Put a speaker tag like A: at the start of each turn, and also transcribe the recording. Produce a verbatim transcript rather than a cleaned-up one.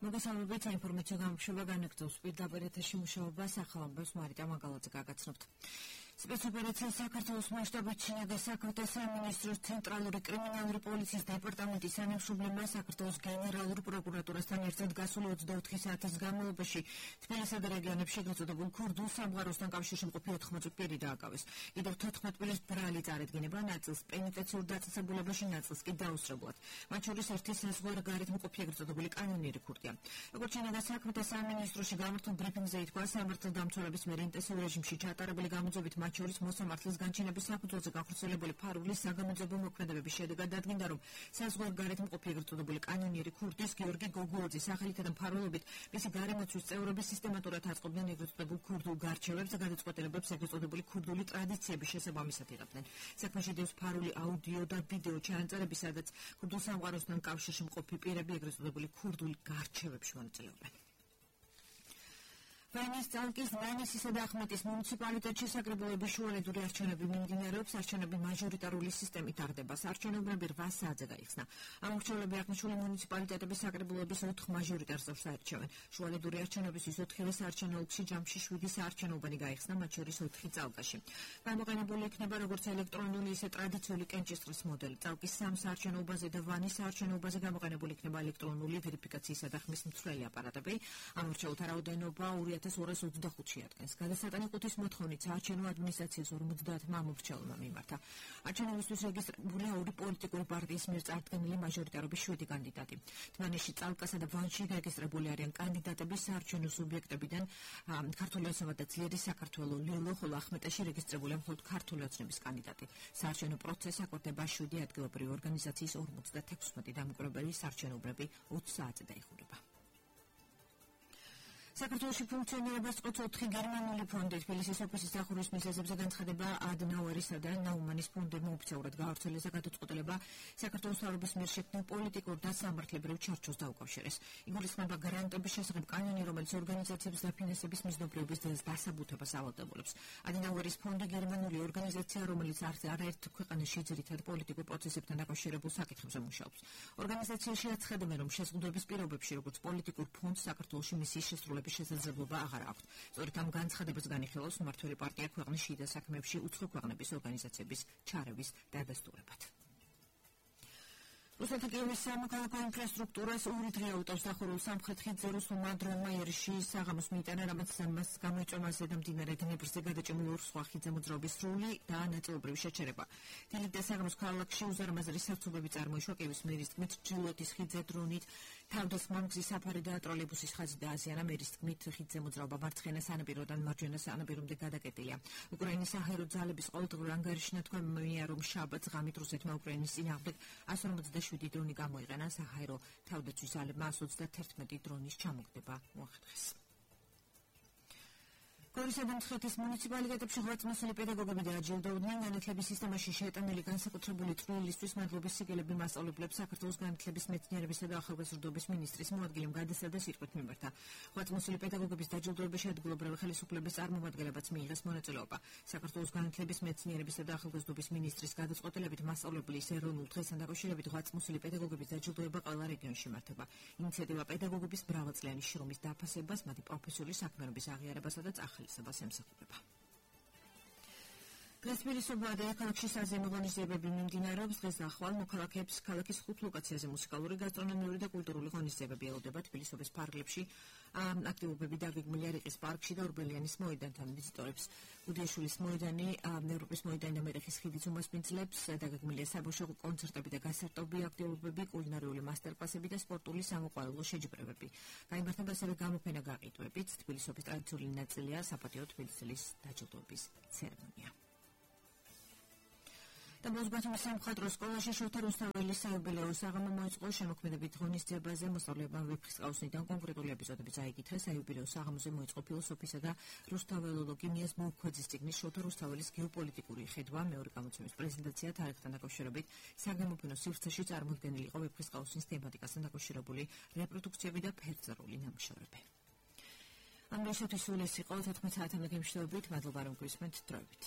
A: მოგესალმებით საინფორმაციო გამშვება განაგრძობს პირდაპირ ეთერში მუშაობას ახალამბებს მარიტა მაგალაძე გაგაცნობთ. Спецоперация საქართველოს მასშტაბით ჩინეთის საქმეთა სამინისტროს ცენტრალური კრიმინალური პოლიციის დეპარტამენტის თანამშრომლებმა საქართველოს გენერალურ პროკურატურასთან ერთად გასული ოცდაოთხი საათის განმავლობაში თბილისსა და რეგიონებში ეგრეთ წოდებულ ქურდულ სამყაროსთან კავშირში მყოფი ოთხმოცი პირი დააკავეს. კიდევ თოთხმეტ პირის ბრალი წარადგინება, ნაწილს პენიტენციურ დაწესებულებაში, ნაწილს კი დაუსწრებლად. მათ შორის ერთი საზღვარგარეთ მყოფი ეგრეთ წოდებული კანონიერი ქურდია. როგორც ჩინეთის საქმეთა სამინისტროში გამართულ ბრიფინგზე ითქვა, სამართალდამცველების მიერ ინტენსიურ რეჟიმში ჩატარებული გამოძებით მათ შორის მოსამართლის განჩინების საფუძველზე გახორციელებული ფარულის საგამოძიებო მოქმედებების შედეგად დადგინდა, რომ საზღვარგარეთ მყოფი ეგრეთ წოდებული კანონიერი ქურდის გიორგი გოგუოძის სახელითა და მფარველობით მისი გარემოცვის წევრები სისტემატურად აწყობდნენ ეგრეთ წოდებულ ქურდულ გარჩევებს და გადაწყვეტილებებს ეგრეთ წოდებული ქურდული ტრადიციების შესაბამისად იღებდნენ. საქმეში დევს ფარული აუდიო და ვიდეო ჩანაწერები, სადაც ქურდულ სამყაროსთან კავშირში მყოფი პირები ეგრეთ წოდებული ქურდულ გარჩევებში მონაწილეობენ. ვენის წალკის მანისისა და ახმეტის მუნიციპალიტეტში საკრებულების შუალედური არჩევნები მიმდინარეობს. არჩევნები მაჟორიტარული სისტემით ტარდება. არჩევნები რვა საათზე გაიხსნა. ამორჩევლები აღნიშნული მუნიციპალიტეტების საკრებულების ოთხ მაჟორიტარს არჩევენ. შუალედური არჩევნებისთვის ოთხივე საარჩევნო ოლქში ჯამში შვიდი საარჩევნოუბანი გაიხსნა, მათ შორის ოთხი წალკაში. გამოყენებული იქნება როგორც ელექტრონული, ისე ტრადიციული კენჭისყრის მოდელი. წალკის სამ საარჩევნოუბანზე და ვანის საარჩევნოუბანზე გამოყენებული იქნება ელექტრონული ვერიფიკაციისა და ხმის მცვლელი აპარატები. ამორჩეულთა რაოდენობა ორი ათას ორას ოცდახუთში ადგენს. გადასატანი ყუთის მოთხოვნით საარჩევნო ადმინისტრაციის ორმოცდაათმა ამორჩეულმა მიმართა. არჩევნებისთვის რეგისტრირებულია ორი პოლიტიკური პარტიის მიერ წარდგენილი მაჟორიტარობის შვიდი კანდიდატი. თბილისში, წალკასა და ვანში რეგისტრირებული არიან კანდიდატები საარჩევნო სუბიექტებიდან ქართული ოცნება და ძლიერი საქართველო, ლილო, ხოლო ახმეტაში რეგისტრირებულია მხოლოდ ქართული ოცნების კანდიდატი. საარჩევნო პროცესი აკურდება შვიდი ადგილობრივი ორგანიზაციის ორმოცდათექვსმეტი დამკვირვებელი საარჩევნობრები ოცი საათზე დაიხურება. საქართველოში ფუნქციონირებას წყვეტს ოთხი გერმანული ფონდი. თბილისის ოფისის დახურვის მიზეზებზე განცხადება ადნაუერისა და ნაუმანის ფონდებმა ოფიციალურად გაავრცელეს და გადაწყვეტილება საქართველოს მთავრობის მიერ შექმნილ პოლიტიკურ და სამართლებრივ ჩარჩოს დაუკავშირეს. იგულისხმება გარანტების შესახებ კანონი, რომელიც ორგანიზაციების დაფინანსების მიზნობრიობის დასაბუთებას ავალდებულებს. ადნაუერის ფონდი გერმანული ორგანიზაცია, რომელიც არაერთ ქვეყანაში ძირითად პოლიტიკურ პროცესებთან დაკავშირებულ საკითხებზე მუშაობს. ორგანიზაციაში აცხადებენ, რომ შეზღუდვების პირობებში, როგორც პოლიტიკურ ფონდს, საქართველოში მისიის შესრულება შესაძლებლობა აღარ აქვს. სწორედ ამ განცხადებას განიხილავს მმართველი პარტია ქვეყნის შიდა საქმეებში უცხო ქვეყნების ორგანიზაციების ჩარევის დადასტურებად. რუსეთის კიევის სამოქალაქო ინფრასტრუქტურას ორი დღე აუტავს დახურულ სამხრეთ ხიდზე რუსულმა დრონმა იერში საღამოს მიიტანა, რამაც მას გამოიწვია მასზე და მდინარე დნეპრზე გადაჭიმულ ორ სხვა ხიდზე მოძრაობის სრული და ნაწილობრივი შეჩერება. დილით და საღამოს ქალაქში უზარმაზარი საცობები წარმოიშვა. კიევის მერის თქმით, ჩრდილოეთის ხიდზე დრონით თავდასხმა მგზის საფარი და ტროლეიბუსის ხაზი დააზიანა. მერის თქმით, ხიდზე მოძრაობა მარცხენა სანაპიროდან მარჯვენა სანაპირომდე გადაკეტილია. უკრაინის საჰაერო ძალების ყოველდღიურ ანგარიშში ნათქვამია, რომ შაბათს ღამით რუსეთმა უკრაინის წინააღმდეგ εκατს ორმოცდაშვიდი დრონი გამოიყენა. საჰაერო თავდაცვის ძალებმა εκατს ოცდაათერთმეტი დრონის ჩამოგდება მოახერხეს. გორისა და მცხეთის მუნიციპალიტეტებში ღვაწლმოსილი პედაგოგები დააჯილდოვდნენ. განათლების სისტემაში შეეტანილი განსაკუთრებული წვლილისთვის მადლობის სიგელები მასწავლებლებს საქართველოს განათლების, მეცნიერებისა და ახალგაზრდობის მინისტრის მოადგილემ გადასცა სიტყვით მიმართა. ღვაწლმოსილი პედაგოგების დაჯილდოებაში ადგილობრივი ხელისუფლების წარმომადგენლებაც მიიღეს მონაწილეობა. საქართველოს განათლების, მეცნიერებისა და ახალგაზრდობის მინისტრის გადაწყვეტილებით მასწავლებლის ეროვნულ დღესთან დაკავშირებით ღვაწლმოსილი პედაგოგების დაჯილდოება ყველა რეგიონში იმართება. ინიციატივა პედაგოგების მრავალწლიანი შრომის დაფასებას, მათი პროფესიული საქმიანობის აღიარებასა და ახალისებას ემსახურება. დღესპირისობა და ქალაქში საზეიმო ღონისძიებები მიმდინარეობს. დღეს ახვალ მოქალაქეებს ქალაქის ხუთ ლოკაციაზე მუსიკალური, გასტრონომიური და კულტურული ღონისძიებები ელოდება. თბილისობის ფარგლებში აქტივობები დაგეგმილია რიყის პარკში და ორბელიანის მოედანთან. ვიზიტორებს გუდიაშვილის მოედანი, ევროპის მოედანი და მერეხის ხიდიც უმასპინძლებს. დაგეგმილია საბავშვო კონცერტები და გასარტობი აქტივობები, კულინარიული მასტერკლასები და სპორტული სამოყვარულო შეჯიბრებები. გაიმართება ასევე გამოფენა გაყიდვებით. თბილისობის ტრადიციული ნაწილია საპატიო თბილისის დაჯილდოების ცერემონია. და მოსბათუმის სამხატვრო სკოლაში შოთა რუსთაველის საიუბილეო საღამო მოეწყო. შემოქმედებით ღონისძიებაზე მოსწავლეებმა ვეფხისტყაოსნიდან კონკრეტული ეპიზოდები წაიკითხეს. საიუბილეო საღამოზე მოეწყო ფილოსოფიისა და რუსთაველოლოგიას მოუქვეძის წიგნის შოთა რუსთაველის გეოპოლიტიკური ხედვა. მეორე გამოცემის პრეზენტაცია თარიღთან დაკავშირებით საგამოფენო სივრცეში წარმოდგენილი იყო ვეფხისტყაოსნის თემატიკასთან დაკავშირებული რეპროდუქციები და ფერწერული ნამუშევრები. ამ დღეისთვის სულ ეს იყო თოთხმეტ საათამდე გემშვიდობით. მადლობა რომ გვისმენთ. დროებით.